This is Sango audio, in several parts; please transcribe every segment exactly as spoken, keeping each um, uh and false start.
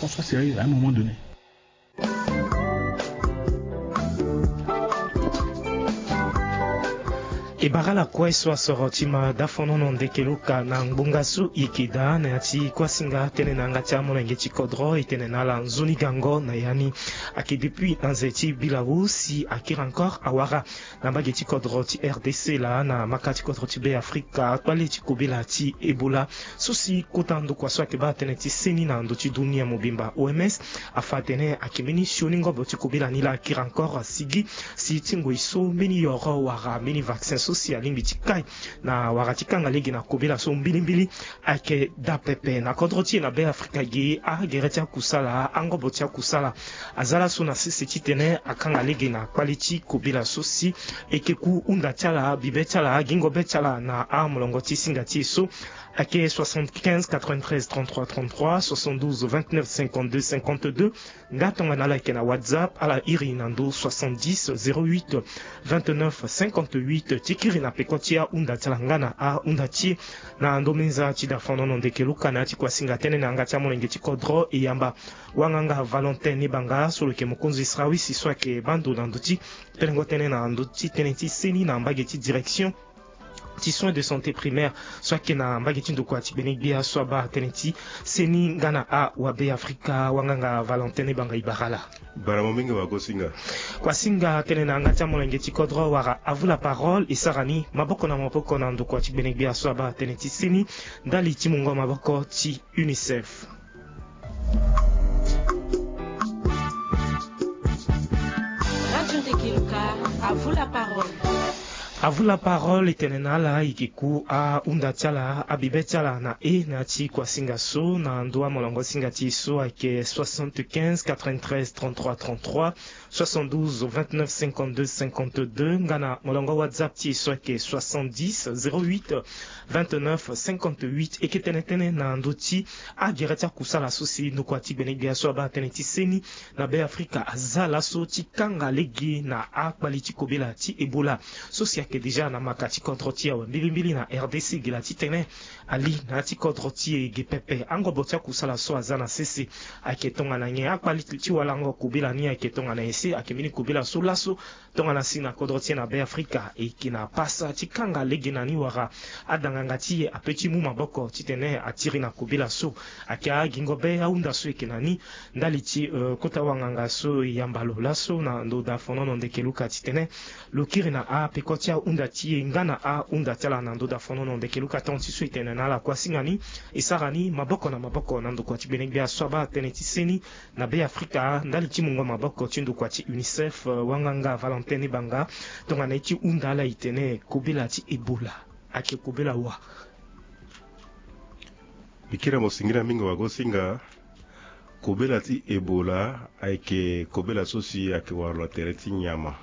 François Cyril, à un moment donné. E bara lakue so asoro ti ma dafonono ndeke luka na ngbonga so e yeke daa na ya ti kuasinga tënë na yanga ti amolenge ti kodro, e tene na ala nzoni gango na ya ni. Ayeke depuis na nze ti bilau si akiri encore awara na mbage ti kodro ti R D C laa na maka ti kodro ti Be Afrika akpale ti kobela ti Ebola. So si kota ndokua so ayeke baa tënë ti seni na ndö ti dunia mobimba, O M S, afa atene ayeke mbeni sioni ngobo ti kobela ni laa akiri encore asigi si ti ngoi so mbeni yoro wala mbeni vaccin so si alingbi ti kai na wara ti kanga lege na kobela so mbilimbili ayeke daa pepe. Na kodro ti e na Be Afrika ge, agere ti akusala, angobo ti akusala aza laso na sese titene akanga lege na kpale ti kobela so si e yeke ku hunda ti ala, bibe ti ala, gingo be ti ala na amolongo ti singa ti e so ayeke soixante-quinze quatre-vingt-treize trente-trois trente-trois, soixante-douze vingt-neuf cinquante-deux cinquante-deux. Nga tongana ala yeke na WhatsApp, ala iri na ndö soixante-dix zéro huit vingt-neuf cinquante-huit ti kiri na peko ti ahunda ti ala nga na ahunda ti e. Na ndo menza ti dafonono ndeke luka na ya ti kuasinga tënë na yanga ti amolenge ti kodro, e yamba wanganga Valentin Nibanga so lo yeke mokonzi srawisi so ayeke baa ndo na ndö ti telengo tënë na ndö ti tënë ti seni na mbage ti direction ti soins de santé primaire so ayeke na mbage ti ndokua ti gbenegbia so abaa tënë ti seni nga na awabe Afrika. Wanganga Valentin Nibanga, e bara ala. Bara mo mingi wagosinga. Kuasinga tënë na yanga ti amolenge ti kodro wala avu la parole e sara ni maboko na maboko na ndokua ti gbenegbia so abaa tënë ti seni ndali ti mungo maboko ti UNICEF. Radio Ndeke Luka, à vous la parole. À vous la parole, e tene na ala e yeke ku ahunda ti ala, abibe ti ala na e na ya ti kuasinga so na ndö amolongo singa ti e so ayeke soixante-quinze quatre-vingt-treize trente-trois trente-trois, soixante-douze vingt-neuf cinquante-deux cinquante-deux, nga na molongo WhatsApp ti e so ayeke soixante-dix zéro huit vingt-neuf cinquante-huit. E yeke tene tënë na ndö ti agere ti akusala so si ndokua ti gbenegbia so abaa tënë ti seni na Be Afrika aza laso ti kanga lege na akpali ti kobela ti Ebola so si ayeke déjà na maka ti kodro ti e awe mbilimbili na R D C, gi laa titene ali na ya ti kodro ti e ge pepe. Angobo ti akusala so aza na sese ayeke tongana nyen? Akpali ti walango kobela ni ayeke tongana nyen? Si ayeke mbeni kobela so laso tongana si na kodro ti e na Be Afrika e yeke na pasa ti kanga lege na ni wala adanganga ti e ape ti mu maboko titene atiri na kobela so? Ayeke agingo be ahunda so e yeke na ni ndali ti, euh, kota wanganga so e yamba lo laso na ndo dafonono ndeke luka titene lo kiri na apeko ti ahunda ti e nga na ahunda ti ala na ndo dafonono ndeke luka. Tonga ti so e tene na ala kuasinga ni e sara ni maboko na maboko na ndokua ti gbenegbia so abaa tënë ti seni na Be Afrika ndali ti mungo maboko ti ndokua ti UNICEF, euh, wanganga Valentin Nibanga, tongana ye ti hunda ala e tene kobela ti Ebola ayeke kobela wa? Mbi kiri na mo singila mingi wagosinga. Kobela ti Ebola ayeke kobela so si ayeke wara lo na tere ti nyama.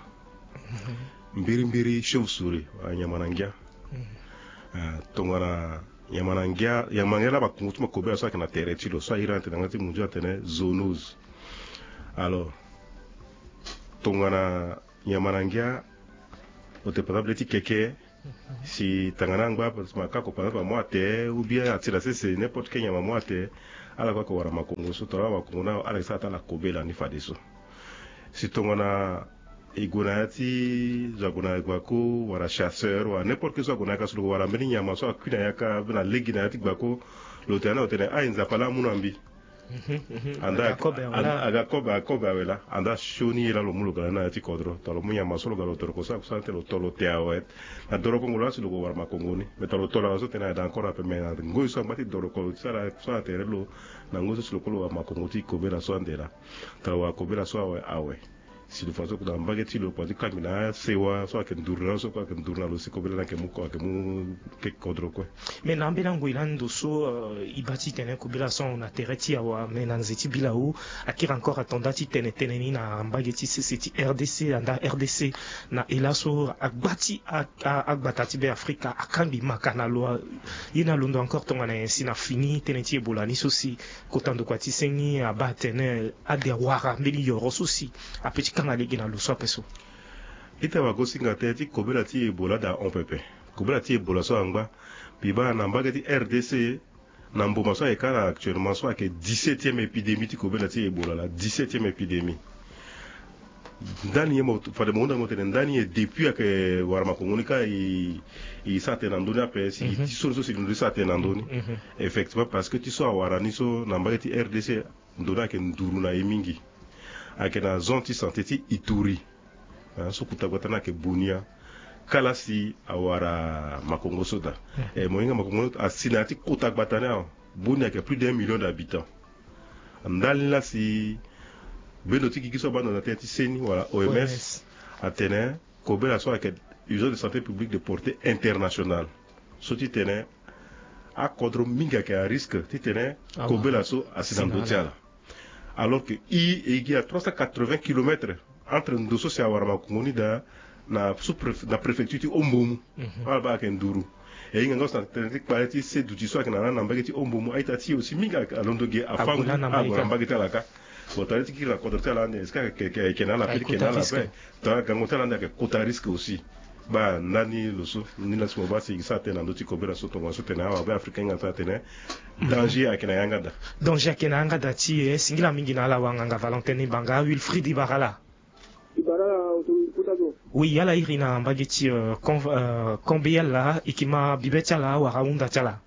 Mbirimbiri chauve-souris, ah, nyama na ngia. Ah, tongana nyama na ngia, nyama na ngia laa makongo ti mo kobela so ayeke na tere ti lo so ahiri na tene na yanga ti munzu atene zoonose. Alors tongana nyama na ngia, lo tene par exemple ti keke, si tangana angba si ma kako par exemple amu atene ou bien atira sese n'importe quel nyama amu atene, ala kue ayeke wara makongo so tongana ala wara makongo ni ala yeke sara ti ala kobela ni fadeso. Si tongana e gue na ya ti zo ague na gbako wala chasseur wala n'importe quel so ague na yaka so lo wara mbeni nyama so akui na yaka mbeni alege na ya ti gbako, lo tene na lo tene ah e Nzapa laa amu na mbi. Anda aga kobe awe laa, anda sioni ye laa lo mu lo ga na ni na ya ti kodro. Tongana lo mu nyama so lo ga lo doroko so akusana te lo to lo te awe. Na dorokongo laa si lo gue wara makongo ni. Me tongana lo to lo awe so tene ayeke encore ape me na ngoi so angba ti doroko lo ti sara akusana tere lo. Na ngoi so si lo kue lo wara makongo ti kobela so ande laa. Tongana lo wara kobela so awe awe. Si lo fa so na mbage ti lo kua ti kangbi na asewa so ayeke nduru na lo so kue ayeke nduru na lo si kobela ni ayeke mu ko ayeke mu keke kodro kue. Me na ambeni angoi lani ndo so, euh, e baa titene kobela so ahon na tere ti e awe, me na nze ti bilau akiri encore ato nda ti tene tënë ni na mbage ti sese ti R D C, anda R D C na e laso agba ti a, a, agbata ti Be Afrika akangbi maka na lo. Ye ni alondo encore tongana nyen si na fini tënë ti Ebola ni so si kota ndokua ti seni abaa atene ade awara mbeni yoro so si ape ti kanga lege na lo so ape so? Ita wagosinga tënë ti kobela ti Ebola ade ahon pepe. Kobela ti Ebola so angba. Mbi baa na mbage ti R D C Na mboma so ayeke kâ la actuellement so ayeke dix-septième épidémie ti kobela ti Ebola la, dix-septième épidémie. Ndani ye mo fade mo hunda mo tene ndani ye depuis ayeke wara makongo ni kâ e, e sara tënë na ndö ni ape si ti so ni so si lo ndo ti sara tënë na ndö ni. Effectivement, parce que ti so awara ni so na mbage ti R D C, ndo ni ayeke nduru na e mingi. Ayeke na zone ti santé ti Ituri. Ah, so kota gbata ni ayeke Bunia. Kâ la si awara makongo so daa. E mo hinga makongo ni asi na ya ti kota gbata ni awe. Bunia ayeke plus d'un million d'habitants. Ndali ni la si bendo ti gigi so abaa ndo na tënë ti seni wala O M S atene kobela so ayeke urgence de santé publique de portée internationale. So ti tene akodro mingi ayeke à risque ti tene kobela so asi na ndo ti ala. Alors que e, e gi à trois cent quatre-vingts kilomètres entre ndo so si awara makongo ni daa na sous-préf-, na préfecture ti Ombomu. Ala baa ayeke nduru. E hinga nga so na tënë ti kpale ti se duti so ayeke na ala na mbage ti Ombomu, a-ita ti e aussi mingi alondo ge afango ague na mbage ti ala kâ. Bon, tali ti kiri na kodro ti ala ande est-ce que ayeke na ala ape ti ke na ala ape? Tongana gango ti ala ande ayeke kota risque aussi. Baa ndani lo so ni la si mo baa si e sara tënë na ndö ti kobela so tongana so tene awabe africain hinga ti atene danger ayeke na yanga daa. Danger ayeke na yanga daa ti e. Singila mingi na ala wanganga Valentin Ibanga. Wilfried Ibara la. Ibara la, autorité kota zo. Oui, ala iri na mbage ti, euh, Con-, euh, Combéal la, e ke ma bibe ti ala wala hunda ti ala?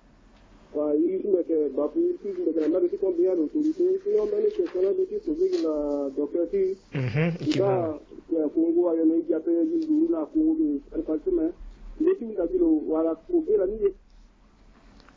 Wa, e si mbi yeke bapu, e si mbi yeke na mbage ti Combéal, autorité. Sinon mbeni question na ndö ti poser gi na docteur ti. Mhm, e ke ma. Kongo ayo na e gi ape, e gi nduru na Kongo, mais ndö ti hunda ti lo wala kobela ni ye.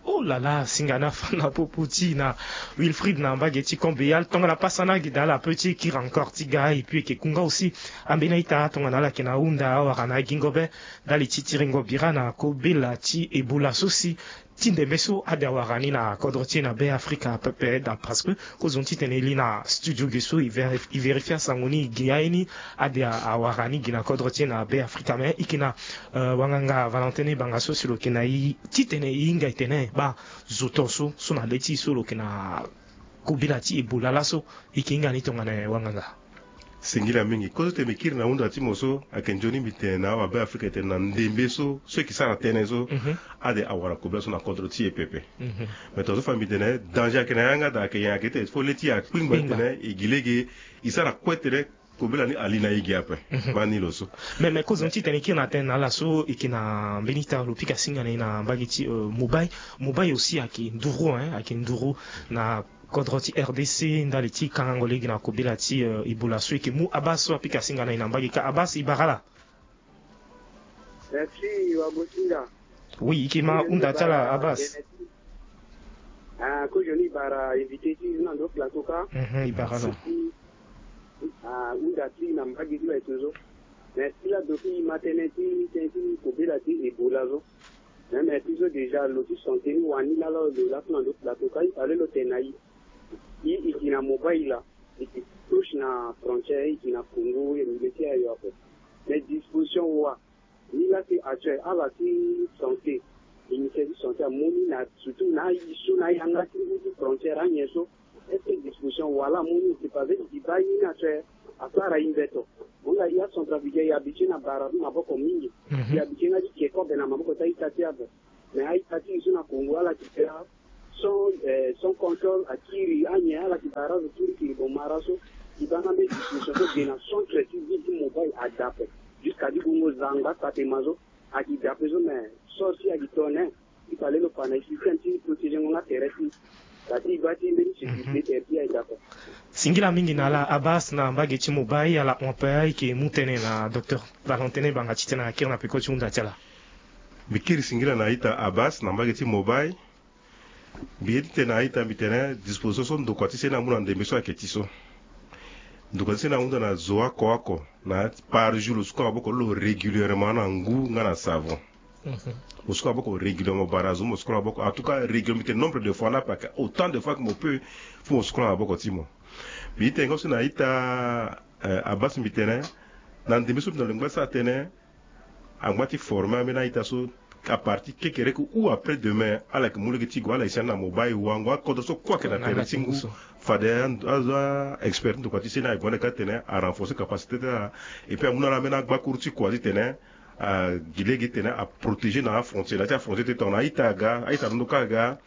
Oh là là, singa na fa na popo ti na Wilfried na mbage ti Combéal. Tongana pasa na gi daa la pe ti kiri encore ti ga, et puis e ke ku nga aussi ambeni a-ita tongana ala yeke na hunda awara na agingo be ndali ti tiringo bira na kobela ti Ebola so si ti ndembe so ade awara ni na kodro ti e na Be Afrika pepe daa, parce que kozoni titene e li na studio ge so e vérifi-, e vérifier asango ni, e ge aye ni ade a-, awara ni ge na kodro ti e na Be Afrika. Mais e yeke na, euh, wanganga Valentin Ibanga so si lo yeke na e titene e hinga e tene baa zo to so, so na le ti e so lo yeke na kobela ti Ebola laso, e yeke hinga ni tongana nyen wanganga? Singila mingi. Kozo ti tene mbi kiri na hunda ti mo so ayeke nzoni mbi tene na awabe afrika e tene na ndembe so, so e yeke sara tënë so, mhm, ade awara kobela so na kodro ti e pepe. Mhm. Mais tongaso fa mbi tene danger ayeke na yanga daa, ayeke nyen? Ayeke ti tene fo le ti e akpingba, kpingba, titene e gi lege e sara kue tene kobela ni ali na e gi ape. Mhm. Mbani lo so. Mais, mais kozoni titene e kiri na tënë na ala so, e yeke na mbeni ita lo pika singa na e na mbage ti, euh, Mobay. Mobay aussi ayeke nduru, hein, ayeke nduru na kodro ti R D C ndali ti kangango lege na kobela ti, euh, Ebola so. E yeke mu Abbas so apika singa na e na mbage kâ. Abbas, e bara ala? Merci, wa Gosinga. Oui, e yeke ma hunda ti ala, Abbas. Ah, kozoni e bara invité ti e na ndo plateau kâ. Mhm, e bara ala. Ah, hunda ti e na mbage ti lo aye tongaso. Mais ti lado ti e ma tënë ti, tënë ti kobela ti Ebola so. Même ti so déjà lo ti santé ni wani lala lo laso na ndo plateau kâ, e fallait lo tene na e. E, e yeke na Mobay la, e yeke proche na frontière, e yeke na Congo, e yeke na milieu ti ayo ape. Mais disposition wa ni la ti actuel, ala ti santé, ministère ti santé amu ni na, surtout na aye so na ayanga ti ngu ti frontière anyen so, est-ce que disposition wala amu ni? C'est pas vrai, e baa ye ni actuel asara e mbeto. Mo hinga e acentrafricain, e habitué na bara ti maboko mingi. Mhm. E habitué nga ti ke kobe na maboko ti a-ita ti e ape. Mais a-ita ti e so na Congo ala yeke baa sans, eh, sans contrôle, akiri anyen, ala yeke bara zo kirikiri. Bon, mara so e baa nga mbeni disposition so ge na centre ti ville ti Mobay ade ape. Jusqu'à ti gongo zangba Satema so ayeke daa ape so, mais sort si ayeke tene, il fallait lo fa na e système ti protéger ngo nga tere ti, da ti e baa ti mbeni sécurité, mhm, tere ti e ayeke daa ape. Singila mingi na ala Abbas na mbage ti Mobay. Ala hon ape, e yeke mu tënë na docteur Valentin Ibanga titene akiri na peko ti hunda ti ala. Mbi kiri singila na a-ita Abbas na mbage ti Mobay. Mbi ye ti tene na a-ita, mbi tene disposition so ndokua ti seni amu na ndembe so ayeke ti so. Ndokua ti seni ahunda na zo oko oko na par jour lo suka maboko lo régulièrement na ngu nga na savon. Mhm. Mo suka maboko régulièrement, bara zo mo suka maboko. En tout cas régulièrement, mbi tene nombre de fois ni ape, autant de fois que mo peut, faut mo suka maboko ti mo. Mbi ye ti tene nga so na a-ita, eh, Abbas, mbi tene na ndembe so mbi na lo ngba ti sara tënë, angba ti former ambeni a-ita so à partir kekereke ou après demain, ala yeke mu lege ti gue, ala yeke sioni na Mobay, wango akodro so kue ayeke na tere ti ngu. Fade a, a, a expert ti ndokua ti seni aye gue ande kâ titene a renforcer capacité ti ala. Et puis amu na ala ambeni agbakuru ti kua titene a gi lege titene a protéger na afrontière, na ya ti afrontière ti tongana a-ita aga, a-ita londo kâ aga,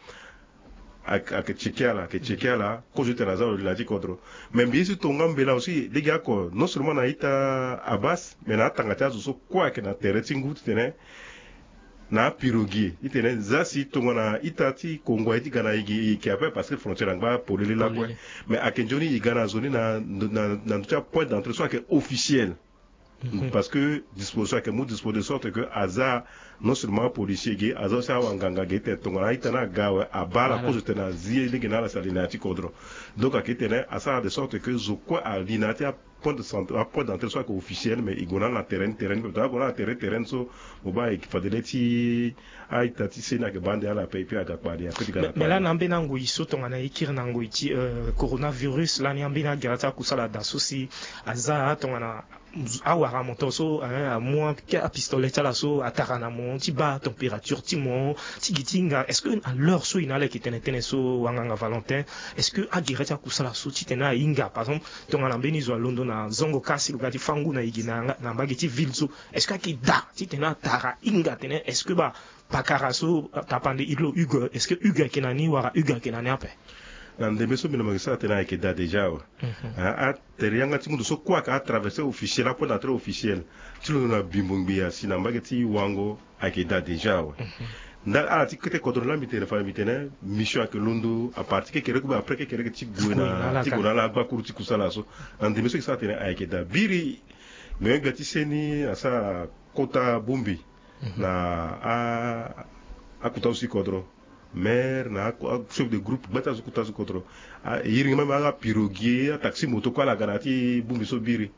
ayeke tcheke ala ayeke tcheke ala kozo ti tene aza lo li na ya ti kodro. Mais mbi ye si tonga mbela aussi lege oko non seulement na ita abas mais na atanga ti azo so kue ayeke na tere ti ngu titene na apirogie titene za si tongana ita ti kongo aye ti ga na igi e yeke ape parce que frontière angba polele lakue. Mais ayeke nzoni e ga na zo ni na ndö ti apoint d'entrée so ayeke officiel. Parce que disposition ayeke mu dispo de sorte que aza non seulement apolicier ge aza aussi awanganga ge tene tongana a-ita ni aga awe abaa ala kozo tene azi ye lege na ala si ali na ya ti kodro. Donc ayeke tene asara de sorte que zo kue ali na ya ti apoint de centre apoint d'entrée so ayeke officiel mais e gue na ala na terrain ni terrain ni pepe tongana ague na ala na terrain terrain ni so mo baa e yeke fade le ti a-ita ti seni ayeke baa nde ala ape et puis aga kpali ape ti ga na kpali. Mais lani ambeni angoi so tongana e kiri na ngoi ti coronavirus lani ambeni agere ti akusala daa so si aza tongana awara moto so amu apistolet ti ala so atara na mo ti baa température ti mo ti gi ti hinga est-ce que na l'heure so e na ala yeke tene tënë so wanganga valentin? Est-ce que agere ti akusala so titene ahinga par exemple tongana mbeni zo alondo na zongo kasi lo ga ti fâ ngu na e gi na mbage ti ville so est-ce que ayeke daa titene atara hinga tene est-ce que baa pakara so tapande ilo hugo est-ce que hugo ayeke na ni wala hugo ayeke na ni ape? Na ndembe so mbi na mo yeke sara tene ayeke daa déjà awe. Atere yanga ti mundu so kue ayeke atraverse officiel apoint d'entrée officiel ti londo na bimbo ngbia si na mbage ti wango ayeke daa déjà awe. Ndali ala ti kete kodro laa mbi tene fade mbi tene mission ayeke londo apartir kekereke ou bien après kekereke ti gue na ti gue na ala agbakuru ti kusala so. Na ndembe so e sara tene ayeke daa biri. Me gbia ti seni asara kota bongbi na akota so si kodro maire na achef de groupe gbata so kota so kodro. Iri ngi même apirogie ataxi moto kue ala ga na ya ti bongbi so biri.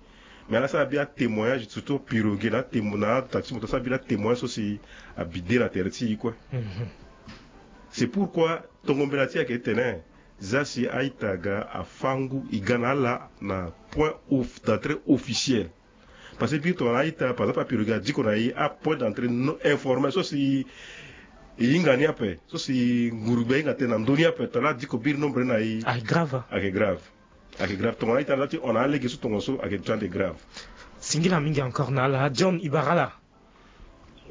Mais ala sara bi atémoignage surtout pirogie na atémo na ataxi moto asara bi na atémoignage so si abi de na tere ti e kue. C'est pourquoi tongo mbela ti e ayeke tene za si a-ita aga afâ ngu e ga na ala na point d'entrée officiel. Parce que biri tongana a-ita par exemple apirogie adiko na e apoint d'entrée non informel so si e hinga ni ape so si ngurugbi ahinga tënë na ndö ni ape tongana adiko biri nombre ni na e ayeke grave. Ayeke grave. Ayeke grave tongana a-ita aza ti hon na alege so tongaso ayeke ti ande grave. Singila mingi encore na ala john ibarala.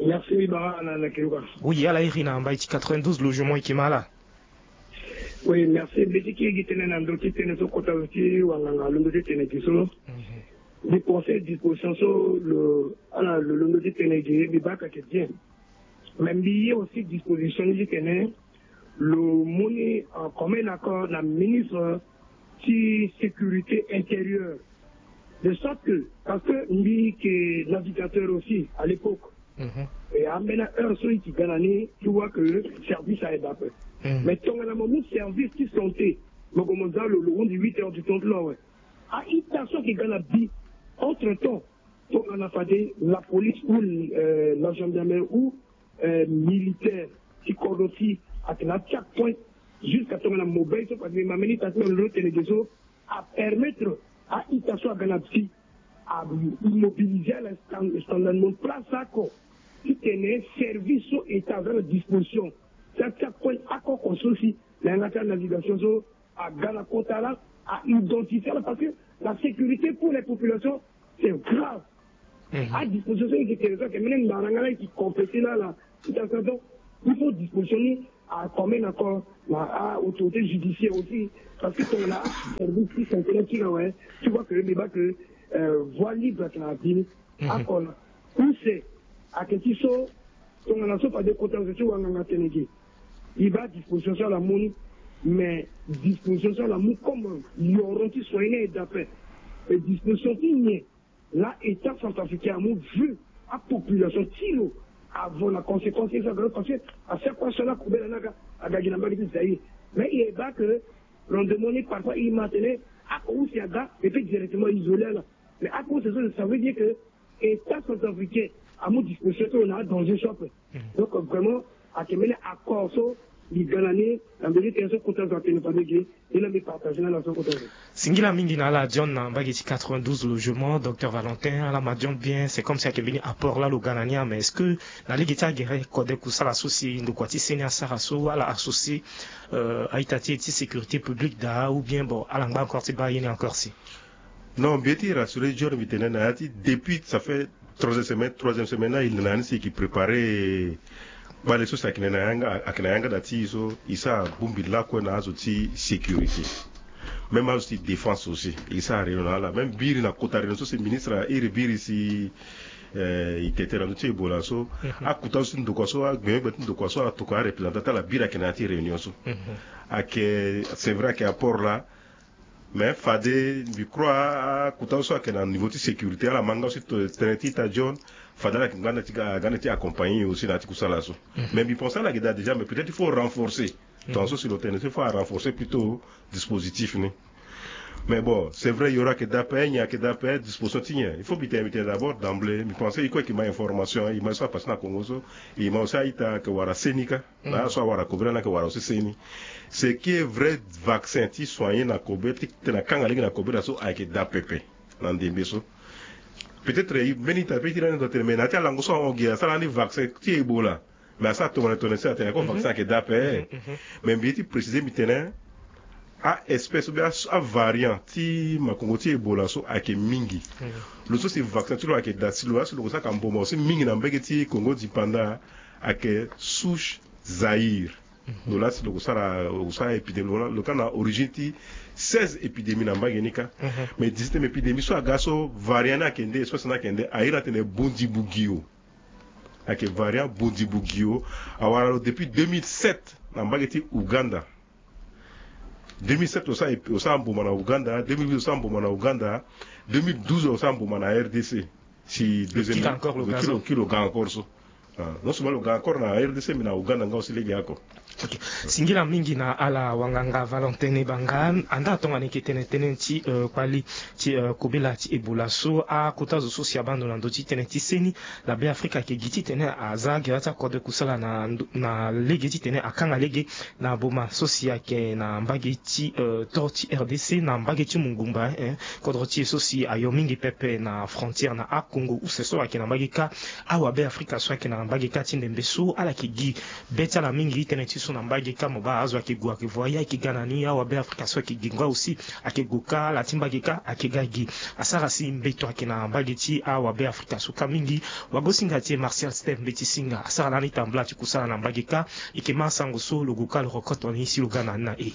Merci ibarala na na kiruka. Oui ala iri na mbai ti quatre-vingt-douze logement e yeke ma ala. Oui merci mbi ti kiri gi tënë na ndö ti tënë so kota zo ti wanganga alondo ti tene gi so. Mbi pense disposition so lo ala lo londo ti tene gi mbi baa ka yeke bien. Mais mbi ye aussi disposition ni ti tene lo mu ni comme un accord na ministre ti sécurité intérieure. De sorte que parce que mbi yeke navigateur aussi à l'époque. Et ambeni aheure so e yeke ga na ni ti vois que service aye daa ape. Mais tongana mo mu service ti santé mo gue mo za lo lo hundi huit heures du temps ti lo awe. A-ita so ayeke ga na bi entre temps tongana fade la police ou la gendarmerie ou militaire ti kodro ti atene atia point jusqu'à tongana mobile so fade mbi ma mbeni ita ti mbi na lo tene ge so apermettre a-ita so aga na bi amobilise ala standard mon place oko titene service so état aza na disposition ti atia point akoko so si na yanga ti anavigation so aga na kota laa a identifier ala parce que la sécurité pour les populations c'est grave. Adisposition so e yeke tene so ayeke mbeni mbaranga laa e yeke compléter laa la situation donc il faut disposition ni akomme na ko na a-autorité judiciaire aussi. Parce que tongana aservice ti santé na ti na awe ti vois que mbi baa que voie libre ayeke na abi ni. Ako na use ayeke ti so tongana so fade kota zo ti wanganga tene ge. E baa disposition so ala mu ni mais disposition so ala mu comme yoron ti soin ni aye daa ape. Mais disposition ti nyen laa état centrafricain amu vu apopulation ti lo avant na conséquence ye so aga lo parce que à chaque fois so ala kobela ni aga aga gi na mbage ti zaïre. Mais e baa que rendement ni parfois e ma tene ako use aga e peut directement isoler ala. Mais ako use so ça veut dire que état centrafricain amu disposition ti lo na adanger so ape. Donc vraiment ayeke mbeni accord so mbi ga na ni na mbeni tene so kota zo atene fade ge. Ni laa mbi partage na ala so kota zo. Singila mingi na ala john na mbage ti quatre-vingt-douze logement docteur valentin ala ma john bien c'est comme si ayeke mbeni apport laa lo ga na ni ah mais est-ce que na lege ti agere kode kusala so si ndokua ti seni asara so ala associer a-ita ti e ti sécurité publique daa ou bien bon ala ngba encore ti baa ye ni encore si. Non mbi ye ti rassurer john mbi tene na ya ti depuis ça fait troisième semaine troisième semaine laa e na ni si e yeke préparer Bale so si ayeke na yanga ayeke na yanga da ti e so e sara bongbi lakue na azo ti sécurité. Même azo ti défense aussi e sara réunion na ala même biri na kota réunion so si ministre iri biri si e tete na ndö ti ebola so. Akuta so ti ndokua so agbengbengbe ti ndokua so atokua areprésentant ti ala biri ayeke na ya ti réunion so. Ayeke c'est vrai ayeke apport laa. Mais fade mbi crois akuta so ayeke na niveau ti sécurité ala ma nga aussi tene ti ita john. Fade ala yeke nga na ti accompagner aussi na ya ti kusala so. Mais mbi pense ala yeke daa déjà mais peut-être il faut renforcer. Tonga so si lo tene so il faut arenforcer plutôt dispositif ni. Mais bon c'est vrai yoro ayeke daa pe nyen ayeke daa pe disposition ti nyen il faut mbi tene mbi tene d'abord d'emblée mbi pense e kue ayeke ma information e ma so apasse na congo so. E ma aussi a-ita ayeke wara seni kâ. Na ala so awara kobela ni ayeke wara aussi seni. Ce qui est vrai vaccin ti soigner na kobela ti tene akanga lege na kobela so ayeke daa pepe. Na ndembe so peut-être mbeni ita pe ti lani doit tene mais na ya ti alango so ahon gi asara ni vaccin ti ebola. Mais asara tongana tongana si atene ako vaccin ayeke daa pe. Mais mbi ye ti préciser mbi tene a-espèce ou bien avariant ti makongo ti ebola so ayeke mingi. Lo so si vaccin ti lo ayeke daa si lo laa si lo ko sara ka mboma aussi mingi na mbege ti kongo dipanda. Ayeke souche zaïre. Lo laa si lo ko sara lo ko sara épidémie lo laa lo ka na origine ti seize épidémie na mbage ni kâ. Mais dix-septième épidémie so aga so variant ni ayeke nde espèce ni ayeke nde airi atene bondibugio. Ayeke variant bondibugio. Awara lo depuis deux mille sept na mbage ti ouganda. Deux mille sept osara mboma na ouganda, deux mille huit osara mboma na ouganda, deux mille douze osara mboma na rdc. Si deuxième kilo ga encore so. Non seulement lo ga encore na rdc mais na ouganda nga aussi lege ako. Singila mingi na ala wanganga valentene banga. Anda atongana eke tene tënë ti kpali ti kobela ti ebola so akota zo so si abando na ndö ti tënë ti seni na be afrika ayeke gi titene aza gere ti akode kusala na lege titene akanga lege na boma so si ayeke na mbage ti tore ti rdc na mbage ti mongumba. Kodro ti e so si ayo mingi pepe na frontière na akongo use so ayeke na mbage kâ. Awabe afrika so ayeke na mbage kâ ti ndembe so ala yeke gi be ti ala mingi tënë ti so na mbage kâ mo baa azo ayeke gue ayeke voye ayeke ga na ni awabe afrika so ayeke gi ngoi aussi. Ayeke gue kâ ala ti mbage kâ ayeke ga gi. Asara si mbeto ayeke na mbage ti awabe afrika so kâ mingi. Wagosinga ti e martial steve mbeti singa asara lani tambula ti kusala na mbage kâ. Eke ma asango so lo gue kâ lo rokoto ni si lo ga na ni na e.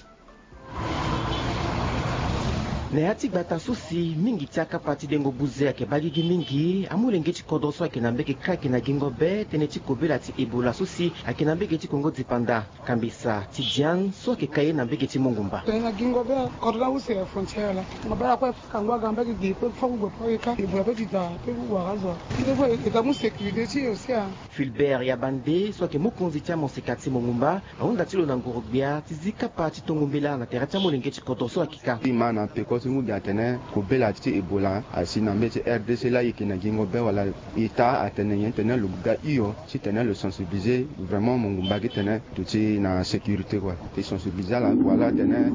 Na ya ti gbata so si mingi ti akapa ti dengo buze ayeke baa gigi mingi amolenge ti kodro so ayeke na mbege kâ ayeke na gingo be tënë ti kobela ti ebola so si ayeke na mbege ti kongo dipanda. Kambisa ti diane so ayeke ka ye na mbege ti mongumba. Tene na gingo be kodro na use ya frontière la. Nga baa kue faka ngua ga mbege gi pe fo ku gue pe ka ebola pe ti da pe ku wara azo. Ti de fo eta mu sécurité ti e aussi a. Filbert ya bande so ayeke mokonzi ti amoseka ti mongumba ahunda ti lo na nguru-gbia ti zi kapa ti tongo mbela na tere ti amolenge ti kodro so akika. Ti ma na peko ti ngu gi atene kobela ti ebola asi na mbeti rdc laa e yeke na gingo be wala eta atene nyen titene lo ga hio titene lo sensibiliser vraiment mongumba gi tene duti na sécurité kua. E sensibiliser ala wala atene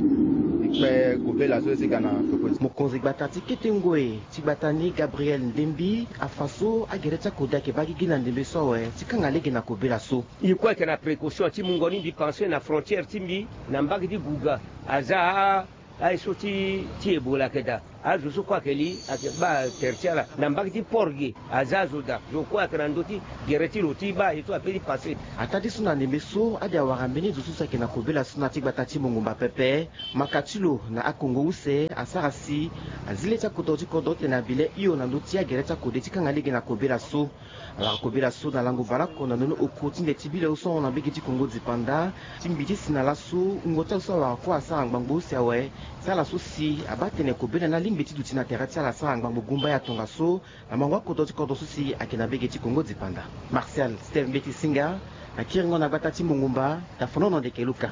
e kpe kobela so e si ga na peko ti. Mokonzi gbata ti kete ngoi ti gbata ni gabriel ndembi afa so agere ti akode ayeke baa gigi na ndembe so awe ti kanga lege na kobela so. Ye kue ayeke na précaution ti mungo ni mbi pense na frontière ti mbi na mbage ti guga aza aye so ti ti ebola ayeke daa. Azo so kue ayeke li ayeke baa tere ti ala na mbage ti port ge. Aza azo daa zo kue ayeke na ndö ti gere ti lo ti baa aye so ape ti passe. Ataa ti so na ndembe so ade awara mbeni zo so si ayeke na kobela so na ti gbata ti mongumba pepe. Maka ti lo na akongo use asara si azi le ti akodro ti kodro tene abi le hio na ndö ti agere ti akode ti kanga lege na kobela so. Awara kobela so na lango baleoko na ndoni oko ti nde ti bi le so ahon na mbege ti kongo dipanda ti mbi ti si na laso wungo ti azo so awara kue asara ngbangbo use awe. Ti ala so si abaa tene kobela ni alingbi ti duti na tere ti ala asara ngbangbo gumba ya tongaso. Na mango akodro ti kodro so si ayeke na mbege ti kongo dipanda. Martial steve mbeti singa. Akiringo na gbata ti mongumba. Tafonono ndeke luka.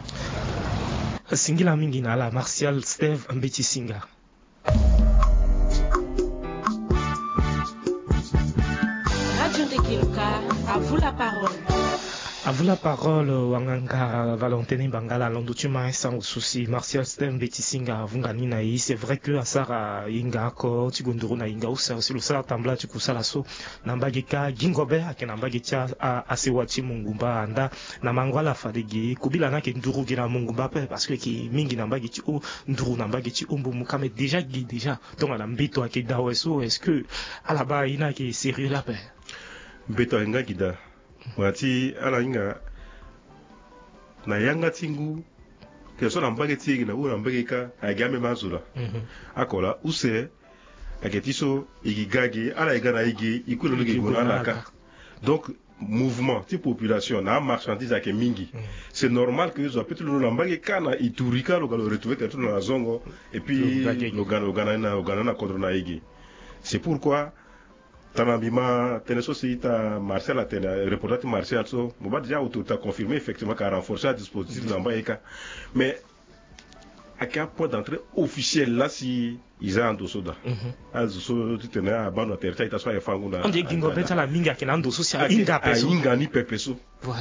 Singila mingi na ala martial steve mbeti singa. Radio Ndekeluka, à vous la parole. À vous la parole wanganga valentine bangala alondo ti ma sango so si martial steve mbeti singa avunga ni na ye. C'est vrai que asara hinga oko ti gondoro na hinga use si lo sara tambula ti kusala so. Na mbage ka gingo be ayeke na mbage ti asewa ti mongumba anda. Na mango ala fade ge kobila ni ayeke nduru ge na mongumba ape parce que ayeke mingi na mbage ti o nduru na mbage ti o mbumu ka mais déjà ge déjà. Tongana mbeto ayeke daa awe so est-ce que ala baa ye ni ayeke sérieux la ape? Mbeto ayeke nga gi daa. Wala ti ala hinga na yanga ti ngu, ke so na mbage ti e gi na uru na mbage ka ayeke ameme azo laa. Ako laa use ayeke ti so e gi ga ge ala e ga na e ge e kue na lo ge gue na ala ka. Donc mouvement ti population na amarchandise ayeke mingi. C'est normal ke zo ape ti londo na mbage ka na ituri ka lo ga lo retrouve tene ti lo na zongo. Et puis lo ga lo ga na lo ga na ni na kodro na e ge. C'est pourquoi tana mbi ma tënë so si ita Martial atene reporter ti Martial so mo baa déjà autorité aconfirmer effectivement ka renforcer adispositif na mbai ka. Mais ayeke apoint d'entrée officiel laa si e za ando so daa. Azo so titene abaa ndo na tere ti a-ita so aye fangu na ande gingo be ti ala mingi ayeke na ando so si ahinga ape so ahinga ni pepe so.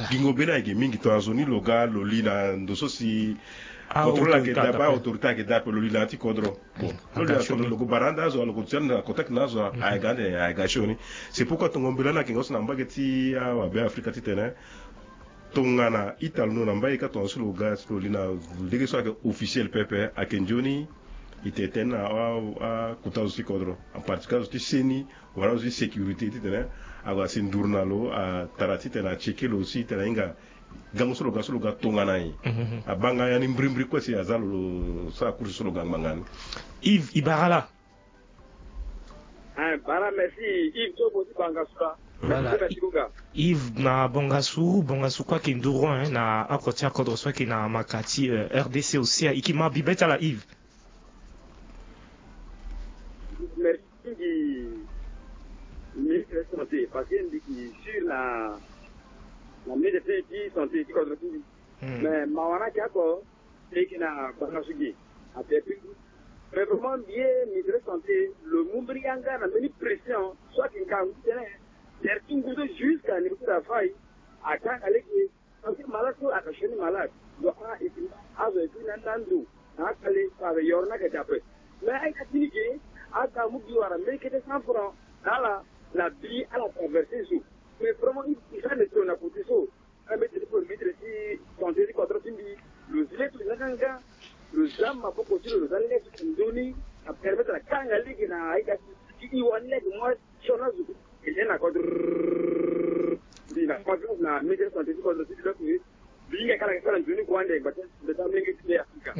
Gingo be ni ayeke mingi tongana zo ni lo ga lo li na ndo so si contrôle ayeke daa ape, autorité ayeke daa ape lo li na ya ti kodro. Bon lo li na kodro lo ko bara ande azo lo ko ti ande na contact na azo ayeke ande ayeke ga sioni. C'est pourquoi tongo mbela ni ayeke nga so na mbage ti awabe afrika titene tongana ita lo no na mbage ka tongana so lo ga so lo li na lege so ayeke officiel pepe ayeke nzoni. E tene tënë na akota zo ti kodro en particulier azo ti seni wala azo ti sécurité titene ague asi nduru na lo atara titene acheke lo aussi titene ahinga gango so lo ga so lo ga tongana nyen. Abaa nga ya ni mbirimbiri kue si aza lo lo sara course so lo ga ngbanga ni. Yves e bara ala. Bara merci Yves ti opo ti banga sula. Voilà. Merci kunga. Yves na bongasu bongasu kue ayeke nduru na oko ti akodro so ayeke na maka ti rdc aussi e yeke ma bibe ti ala Yves. Merci mingi ministre santé parce que mbi yeke sûr na na ministre ti santé ti kodro ti mbi. Mais mawa ni ayeke oko e yeke na banga so gi. Ape pi mais vraiment mbi ye ministre santé lo mu mbeni yanga na mbeni pression so ayeke ngangu titene tere ti ngu so jusqu'à niveau ti dafai akanga lege. Parce que malade so ayeke sioni malade. Donc a e ti azo e ti na ni na ndo na akale so ayeke yoro ni ayeke dape. Mais a-ita ti ni ge aga amu gi wara mbeni kete cent francs na ala na bi ala traverse so. Mais vraiment e sara na e tongana na côté so. Ambeti ti premier ministre ti santé ti kodro ti mbi lo zi le ti lo nga nga lo za maboko ti lo lo za lege ti lo nzoni. Apermettre akanga lege na aita ti i wani lege moi sioni azo. Eke na kodro mbi na confiance na ministre ti santé ti kodro ti mbi donc mbi hinga kala eke sara nzoni kua ande gbata. Mbi ta mlenge ti le afrika.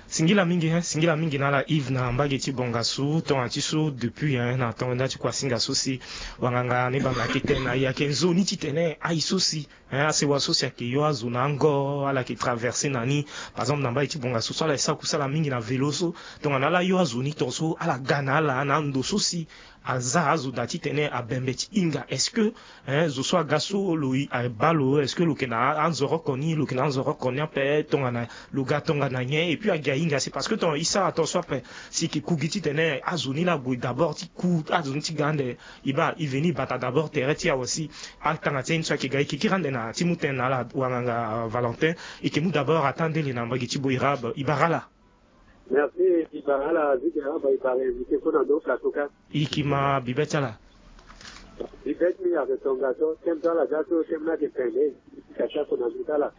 Singila mingi hein singila mingi na ala Yves na mbage ti bongasu tongana ti so depuis hein na tongo nda ti kuasinga so si wanganga ni banga ayeke tene na e ayeke nzoni titene aye so si hein asewa so si ayeke yo azo na ango ala yeke traverse na ni. Par exemple na mbage ti bongasu so ala yeke sara kusala mingi na vélo so tongana ala yo azo ni tongaso ala ga na ala na ando so si aza azo daa titene abembe ti hinga est-ce que hein zo so aga so lo abaa lo est-ce que lo yeke na anzoroko ni lo yeke na anzoroko ni ape tongana lo ga tongana nyen et puis agi ahinga si parce que tongana e sara tongaso ape si e yeke ku gi titene azo ni laa ague d'abord ti ku azo ni ti ga ande e baa e veni e bata d'abord tere ti awe si atanga ti aye ni so ayeke ga e yeke kiri ande na ti mu tënë na ala wanganga valentin. E yeke mu d'abord ataa ndele na mbage ti boirabe e bara ala. Merci. Ibara ala zigi araba ibara invité kue na ndo plateau ka. Iki ma bibe ti ala. Bibe ti mbi ayeke tongaso teme so ala ga so teme ni ayeke pende. Kati ako na ndo ti ala.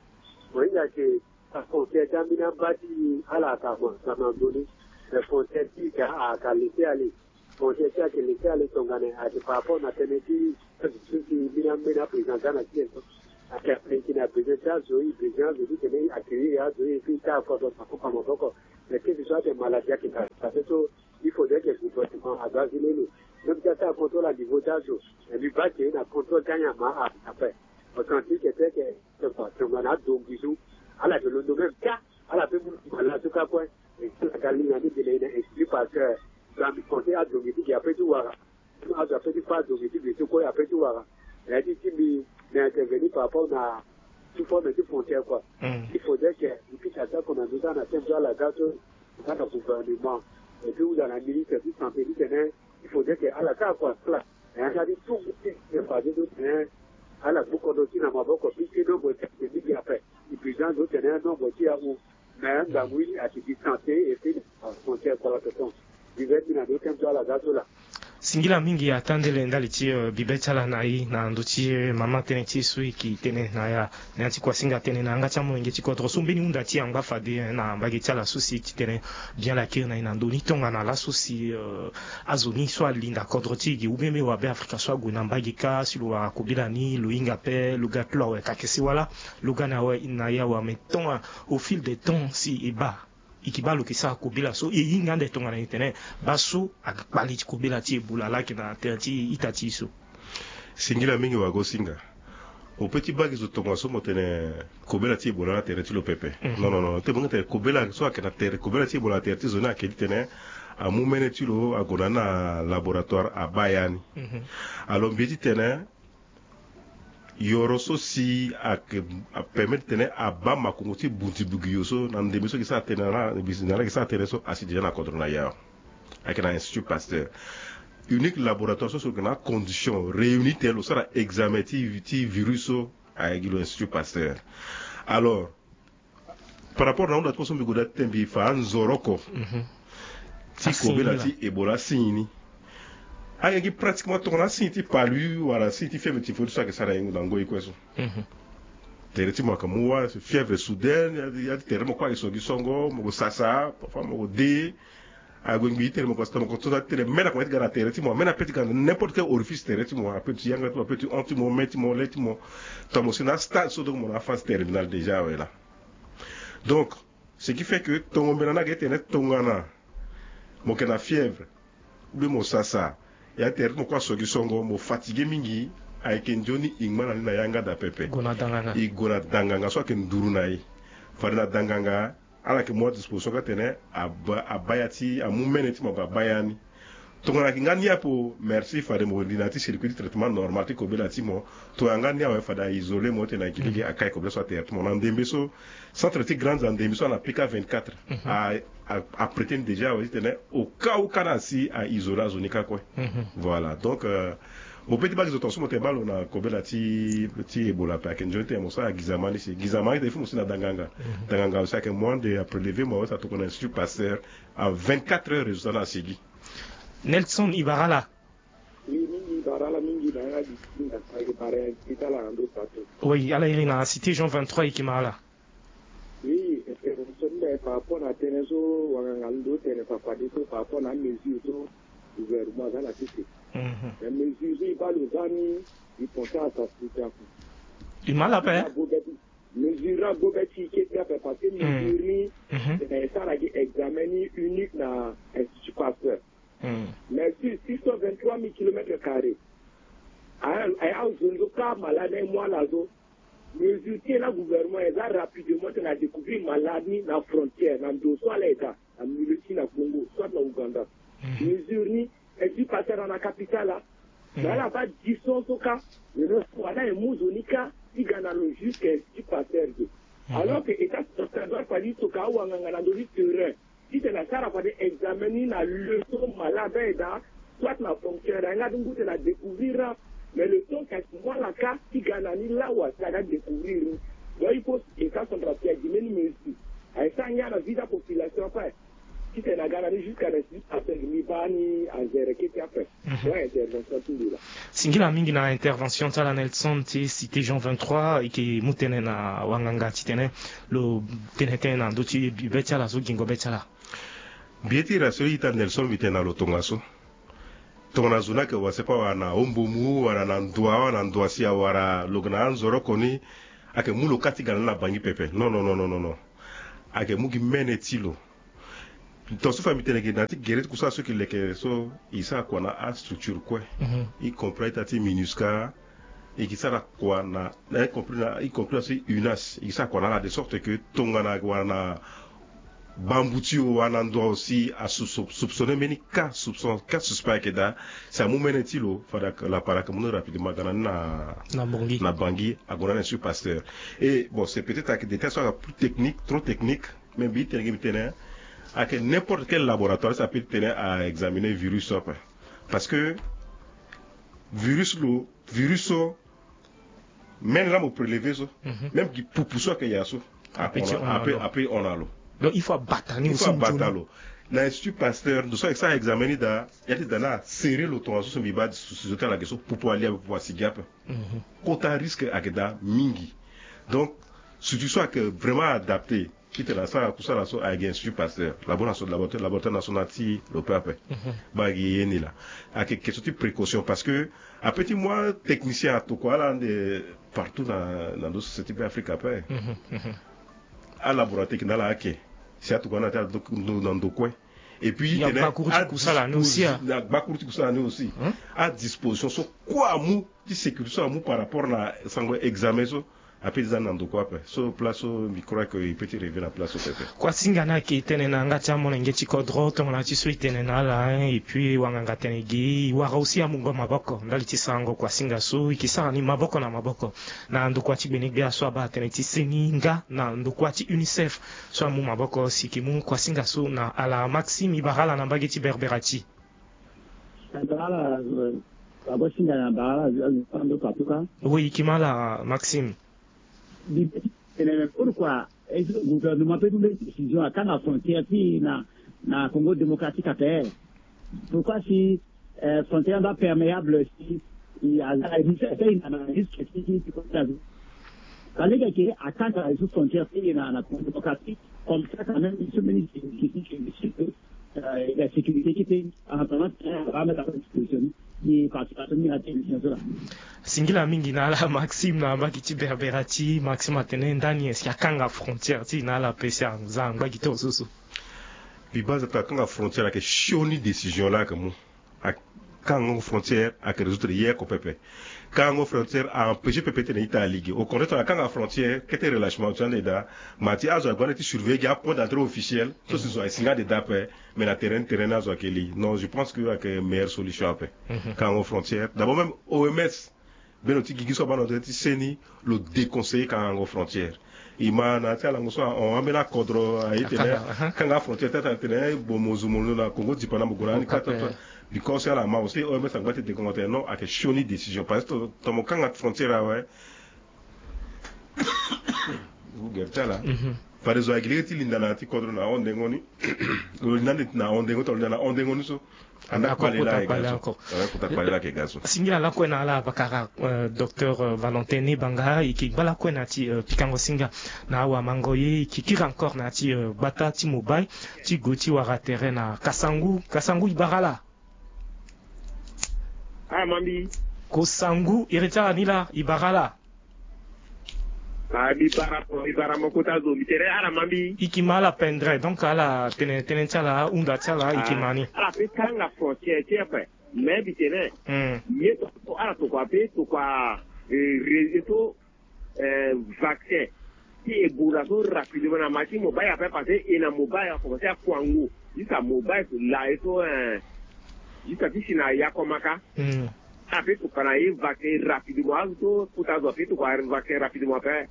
Mo hinga ayeke afrontière ti ambeni amba ti ala aka mo sama ndoni. Mais frontière ti ika aka lese ale. Frontière ti ayeke leke ale tongana ayeke par rapport na tënë ti azo so si mbeni ambeni aprésident aza na ti e so. Ayeke apréki na besoin ti azo e besoin azo ti tene e accueillir azo e et puis ti akodro maboko maboko. Mais keke so ayeke maladie ayeke na azo so il faudrait que gouvernement azo azi lelo. Même ti asara contrôle à niveau ti azo. Mais mbi baa ke na contrôle ti anyama a après. Authentique ete ke tongana adongi so ala yeke londo même ka ala pe mu mala so ka kue. Ala ga linga ni gele e na exclu parce que. Gambi conseil adongi ti gi ape ti wara. Azo ape ti fa adongi ti gi so kue ape ti wara. Na ya ti ti mbi na intervenir par rapport na ti forme ti frontière kua. Il faudrait que mbi kiti attaque na ndö ti ala na teme so ala ga so. Nga na gouvernement et puis huza na ministre ti santé ti tene. Il faudrait que ala sara kua ala na yanga ti tout ti fade so tene. Ala gbu kodro ti na maboko puisque nombre ti ake mingi ape. Épuisant so tene nombre ti ahu. Mais ngangu ye ayeke distance et puis frontière kua la toton. Divers ti na ndo teme so ala ga so la. Singila mingi atandele ndali ti bibe ti ala na ye na ndö ti mama tënë ti e so e yeke tene na ya na ya ti kuasinga tënë na yanga ti amolenge ti kodro so mbeni hunda ti e angba fade na mbage ti ala so si e ti tene bien lakiri na ye na ndö ni tongana laso si azo ni so alinda kodro ti e ge ou bien mbi wa be afrika so ague na mbage kâ si lo wara kobela ni lo hinga pe lo ga ti lo awe kakese wala lo ga na awe na ya awe mais tant au fil de temps si e baa e ke baa lo ke sara kobela so e hinga ande tongana e tene baa so akpali ti kobela ti ebola laa ayeke na tere ti ita ti e so. Singila mingi wagosinga. Ope ti baa gi zo tongaso mo tene kobela ti ebola na tere ti lo pepe. Non non non te mo hinga tene kobela so ayeke na tere kobela ti ebola na tere ti zo ni ayeke ti tene amu mene ti lo ague na ni na laboratoire abaa ya ni. Alors mbi ye ti tene yoro so si ayeke apermet ti tene abaa makongo ti bunti bugiyo so na ndembe so e ke sara tene na ala e ke sara tene so asi déjà na kodro na ya. Ayeke na institut pasteur unique laboratoire so si lo yeke na acondition réuni tene lo sara examen ti virus so. Ayeke gi lo institut pasteur. Alors par rapport na hunda ti mo so mbi goda ti tene mbi fa anzoro oko ti kobela ti ebola asigne ni. Ayeke gi pratiquement tongana asigne ti palu wala asigne ti fièvre ti fodi so ayeke sara na ngoi kue so. Tere ti mo ayeke mu wâ fièvre soudaine ya ti tere ti mo kue ayeke so gi songo mo ko sasa parfois mo ko de. Ague ngbii ti tene mo ko sata mo ko so ti tene me na koma ti ga na tere ti mo me na pe ti ga na n'importe quel orifice tere ti mo ape ti yanga ti mo ape ti hon ti mo me ti mo le ti mo. Tongana mo si na astade so donc mo na aphase terminale déjà awe laa. Donc ce qui fait que tongo mbela ni ayeke ti tene tongana mo yeke na fièvre ou bien mo sasa ya ti tere ti mo kue aso gi songo mo fatigue mingi. Ayeke nzoni e ngba na ni na yanga daa pepe. E gue na danganga so ayeke nduru na e. Fade na danganga ala yeke mu adisposition kâ tene abaa ya ti amu mene ti mo ague abaa ya ni. Tongana ayeke nga ni apo merci fade mo li na ya ti circuit ti traitement normal ti kobela ti mo. Tongana nga ni awe fade a isoler mo ti tene ayeke lege akai kobela so atere ti mo na ndembe so. Centre ti grandes andembe so ana pika vingt-quatre. Aprete ni déjà awe ti tene au cas ou kâ na asi a isoler azo ni kâ kue. Voilà donc mo pe ti baa gi zo tongaso mo tene baa lo na kobela ti ti ebola ape ayeke nzoni ti tene mo sara gizama ni si gizama ni tene il faut mo si na danganga. Danganga aussi ayeke moyen de aprélever mo awe si atokua na institut pasteur. A vingt-quatre heures résultat ni asigi. Nelson e bara ala. Oui mingi e bara ala mingi na yanga di ti nda ayeke bara ya ti tala na ndo sato. Oui ala iri na cité jean vingt-trois e yeke ma ala. Oui intervention ni mbi aye par rapport na tënë so wanganga ni ndo tene fa fade so par rapport na amesure so gouvernement aza na sese. Mais mesure so e baa lo za ni e pense asafrika. E ma ala ape. Mesure ni agobe ti e kete ape parce que mesure ni tene e sara gi examen ni unique na institut pasteur. Mais si six cent vingt-trois mille kilomètres carrés aye azo ni so kâ malade na e mu ala so. Mesure ti e na gouvernement eza rapidement tena découvrir malade ni na frontière na ndo so ala eza na milieu ti na congo soit na ouganda. Mesure ni esi passer na na capital la. Mais ala baa distance so kâ. Wala e mu zo ni kâ ti ga na lo jusque esi passer de. Alors que état central doit fali toka awanganga na ndo ti terrain titene asara fade examen ni na leçon malade aye daa soit na fonctionnaire aye nga ti ngu tene adécouvrir ra. Mais le temps kasi mu ala kâ ti ga na ni lawa si aga découvrir ni. Donc il faut état central si agi mbeni mesure aye sara ngia na vie ti apopulation ape. Titene aga na ni jusqu'à na six personnes ni baa ni azere kete ape. Singila mingi na intervention ti ala nelson ti cité jean vingt-trois e yeke mu tënë na wanganga titene lo tene tënë na ndö ti be ti ala so gingo be ti ala. Mbi ye ti rassurer ita nelson mbi tene na lo tongaso. Tongana zo ni ayeke wase pa wala na hombomu wala na ndua wala na ndua si awara lo yeke na anzoro oko ni. Ayeke mu lo kâ ti ga na ni na bangi pepe non non non non non. Ayeke mu gi mene ti lo. Tongaso fa mbi tene gi na ya ti gere ti kusala so e yeke leke so e sara kua na astructure kue. E compris ita ti minusca. E ke sara kua na e compris na e compris na so unas e ke sara kua na ala de sorte que tongana wala na bambu ti o wala na ndo si asoupçonner mbeni cas soupçon cas suspect ayeke daa. Si amu mene ti lo fade lapara ayeke mu ni rapidement aga na ni na bangi ague na ni na institut pasteur. Et bon c'est peut-être ayeke détail so ayeke plus technique trop technique. Mais mbi tene gi mbi tene ayeke n'importe quel laboratoire si ape ti tene a examiner virus so ape. Parce que virus lo virus so mene laa mo prélever so même gi pupu so ayeke ya so ape ti hon na lo. Donc il faut abata ni aussi abata lo. Na Institut Pasteur ndo so ayeke sara examen ni daa, ya ti daa na asere lo tongaso so mbi baa sujet ti ala ayeke so, popo alia ape, popo asigi ape. Kota risque ayeke daa mingi. Donc, structure so ayeke vraiment adapté titene asara kusala so ayeke Institut Pasteur, laboratoire national ti lo pe ape. Baa gi ye ni laa, ayeke question ti précaution parce que ape ti mu atechnicien atokua ala ande partout na ndo société pe Afrique ape. Alaboratoire ti na ala ake si atokua na ti ala na ndokue. Et puis tene agbakuru ti kusala ni aussi, adisposition so kue amu ti sécurité so amu par rapport na sango examen so, ape ti za na ndokua ape. So place so mbi crois que e pe ti revie na place so pepe. Kuasinga ni ayeke tene na yanga ti amolenge ti kodro tongana ti so e tene na ala, hein, et puis wanganga tene gi e wara aussi amungo maboko ndali ti sarango kuasinga so e ke sara ni maboko na maboko na ndokua ti gbenegbia so abaa tënë ti seni nga na ndokua ti UNICEF so amu maboko si e ke mu kuasinga so na ala. Maxime, e bara ala na mbage ti Berbera ti. Abara ala, eh, abosinga na abara ala, eh, ando patuka. Oui, e ke ma ala Maxime. Bi tene pourquoi est-ce que gouvernement peut prendre décision akanga frontière ti na, na Congo démocratique ape? Pourquoi si, eh, frontière ando aperméable si i aza risque ti na risque ti ti ti. Fallait que akanga sous frontière ti na, na Congo démocratique. Comme ça quand même, il se bénéficie de la sécurité qui était en attendant, eh, va mettre à disposition. Ni participation ni na télévision so laa. Singila mingi na ala Maxime na mbage ti Berbera ti. Maxime atene ndani est-ce que akanga frontière ti na ala ape si aza na mbage ti ozozo? Mbi baa aza tene akanga frontière ayeke sioni décision laa ayeke mu. Akangango frontière ayeke résoudre ye oko pepe. Kangango frontière a empêcher pepe titene ita alege. Au contraire tene akanga frontière kete relâchement ti ande daa. Ma ti azo ague ande ti surveiller gi apoint d'entrée officiel so si zo aye si nga ande daa ape. Mais na terrain, terrain ni azo ayeke li. Non, je pense que ayeke meilleure solution ape. Kangango frontière d'abord, même OMS, beno ti gigi so abaa na ndo ti seni, lo déconseiller kangango frontière. E ma na ya ti alango so ahon ambeni akodro aye tene kanga frontière ti atene bon mo zo mo lo na Congo dipa na mo gue na ni kata. Because ala ma aussi OMS angba ti déconseiller tene non, ayeke sioni décision parce que tongana mo kanga frontière awe, gere ti ala. Fade zo ayeke lege ti linda na ya ti kodro na ahon ndengo ni. Lo linda ande na ahon ndengo ti lo linda na ahon ndengo ni so. Anda kpale la eke ga so. Singila lakue na ala pakara, euh, docteur, euh, Valentin Nebanga, e ke gbala kue na ti, euh, pikango singa na awamango ye, e ke kiri encore na ti, euh, gbata ti mobile ti gue ti wara tere na Kasangu. Kasangu, e bara ala. Ah, mambi. Kosangu, iri ti ala ni laa, e bara ala. Ah, mbi bara, mbi bara mo kota zo, mbi tere ala mambi. E ke ma ala pendere, donc ala tene, tënë ti ala, ahunda ti ala, e ke ma ni. Ala pe kanga frontière ti ape. Mais mbi tene, ye tokua, ala tokua pe tokua, eh, réseau, eh, vaccin ti Ebola so rapidement na ma ti mobile ape, parce que e na mobile a commencé akuangu. Jusqu'à mobile so la e so, eh, jusqu'à ti si na Yakomaka. Ape tokua na ye vaccin rapidement, azo so kota zo ape tokua vaccin rapidement ape.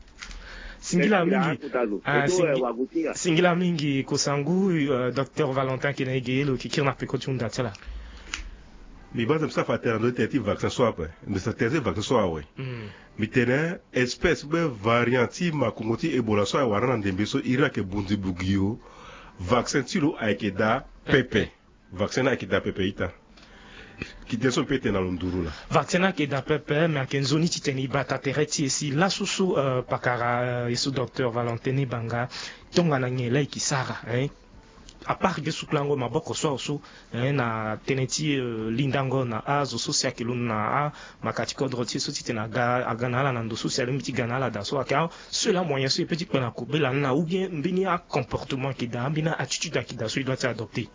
Singila mingi. Ah, singi-, singila mingi Kosangu, euh, docteur Valentin Kenaige, lo ke kiri na peko ti hunda ti ala. Mbi baa mbi sara fa tere na ndo ti tere ti vaccin so ape. Mbi sara tere ti vaccin so awe. Mbi tene espèce be variant ti makongo ti Ebola so awara na ndembe so iri ayeke bunzi bugiyo. Vaccin ti lo ayeke daa pepe. Vaccin ni ayeke daa pepe ita. Kite so mpe tene na lo nduru laa. Vaccin ni ayeke daa pepe, me ayeke nzoni titene e bata tere ti e si laso so, euh, pakara, euh, e so docteur Valentin Nebanga, tongana nyen laa e ke sara, hein? À part ge sukulango maboko so awe so, hein, na tënë ti, euh, lindango na azo so si ayeke londo na amaka ti kodro ti e so titene aga, aga na ala na ndo so si alingbi ti ga na ala daa so, ayeke aseul amoyen so e peut ti kpe na kobela ni laa, ou bien mbeni acomportement ayeke daa, mbeni attitude ayeke daa so e doit ti adopter?